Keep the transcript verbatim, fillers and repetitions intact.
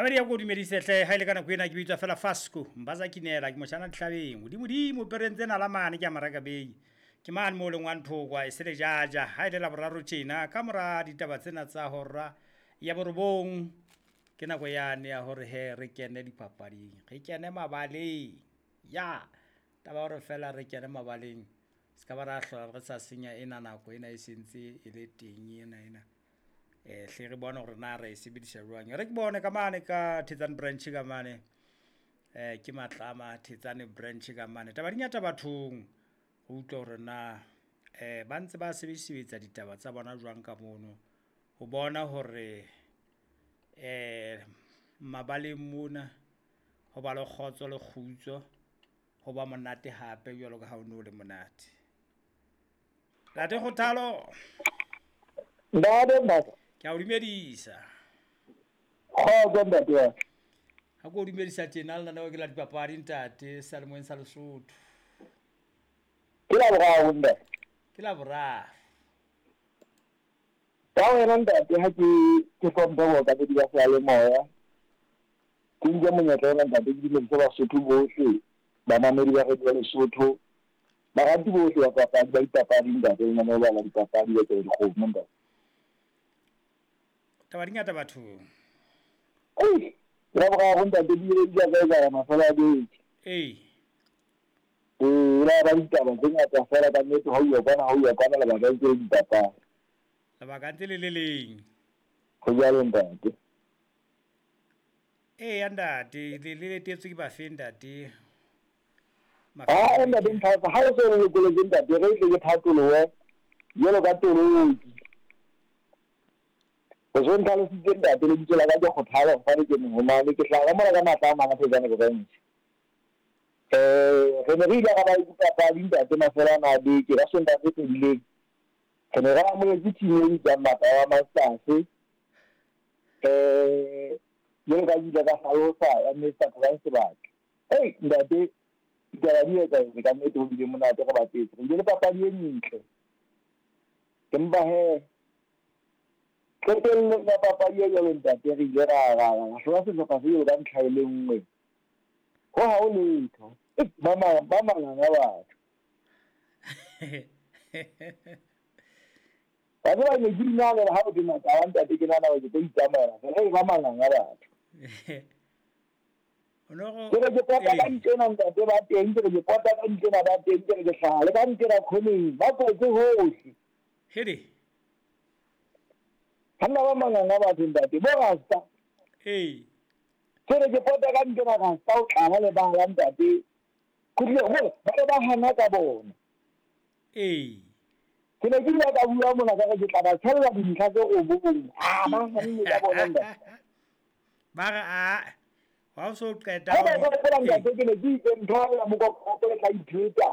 Mamedi ya ko dumedise hle ha ile ka nako ena ke bitswa fela Fasco Mbaza Kinela ke moshana dihlabeng hodimodimo pereng tsena la mane ke a maraka bei ke mane mo leng wa nthokwa e se le jaja ha ile la boraro tjena ka mora ditaba tsena tsa hora ya borobong ke nako yane ya hore he re kene dipapading re kene mabaleng ya taba hore fela re kene mabaleng se ka ba ra hlola re sa senya ena nako ena e sentse e le teng ena ena eh hle re bone hore na re e sebedisa jwang. Re ke bone ka mane ka Thetsane branch ka mane eh ke Matlama Thetsane branch ka mane taba di ngata bathong ho utlwa hore na eh ba ntse ba sebedisebetsa ditaba tsa bona jwang ka mono ho bona hore eh mabaleng mona ho ba le kgotso le kgutso ho ba monate hape jwalo ka ha o no le monate. Ntate Kgothalo. Ntate Mbaza. Ke a o dumedisa. Kgotso ntate wa. Ha ke o dumedisa tjena le nna ke la dipapadi ntate Salemoeng sa Lesotho. Ke la boraro ntate. Ke la boraro. Ka wena ntate ha ke ke hlomphe bookamedi ba seyalemoya. Ke nke monyetla ona ntate ke dumedise Basotho bohle, bamamedi ba Radio Lesotho, barati bohle ba papadi ba dipapadi ntate, lenaneo la dipapadi ba tsela dikgomo ntate. Taba di ngata bathong. Ei, la boraro ntate di ile di a ka etsahala mafelo a beke. Ee. Ee, la ba ditaba tse ngata fela ka nnete ha o ya kwana ha o ya kwana lebaka ntse le dipapadi. Lebaka ntse le le leng. Ho jwalo ntate. Ee ntate, le le letetswe ke bafe ntate? Ah, ntate Mphafa, ha o se o lokoletse ntate, re tle ke phatolohe jwalo ka toloki. O so ntlhalositse ntate lebitso la ka ke Kgothalo fane ke mohomane ke hlaha mona ka matla a mang a Thetsane branch. Eh, re ne re ile ra ba le dipapadi ntate mafelo ana a beke ka Sontaha se fedileng. Re ne re amohetse team e bitswang Matla Masters. Eh, jwalo ka ke ile ka hlalosa ya Mister Brian Sebaka. Ei ntate, ditaba di etsahetse ka nnete ho bile monate re bapetse. Re bile le papadi e ntle. Empa he qetellong ya papadi e jwalo ntate re ile ra ra ra hlola sehlopha se jwalo ka ntlha e le nngwe. Ho ha ho letho. Ba ma ba manganga batho. Ba tseba ne ke inahanela ha o ke Matla ntate ke nahana hore ke tlo itsamaela fela e ba manganga batho. Ke re ke pota ka ntlena ntate ba teng, ke re ke pota ka ntlena ba teng, ke re ke hlaha le ka ntlena khoneng, ba kwetse hohle. Hede. Ha nna ba manganga batho ntate, bo rasta. Ee. Ke re ke pota ka ntlena rasta o tlala le bala ntate. Khutle hore ba re ba hana ka bona. Ee. Ke ne ke ile ka bua mona ka re ke tla ba tshella dintlha tse robong. Ah, ba hanne ka bona ntate. Ba re a ha o so qeta Ha ba hopola ntate ke ne ke itse ntho ya mokokotlo le tla ipheta.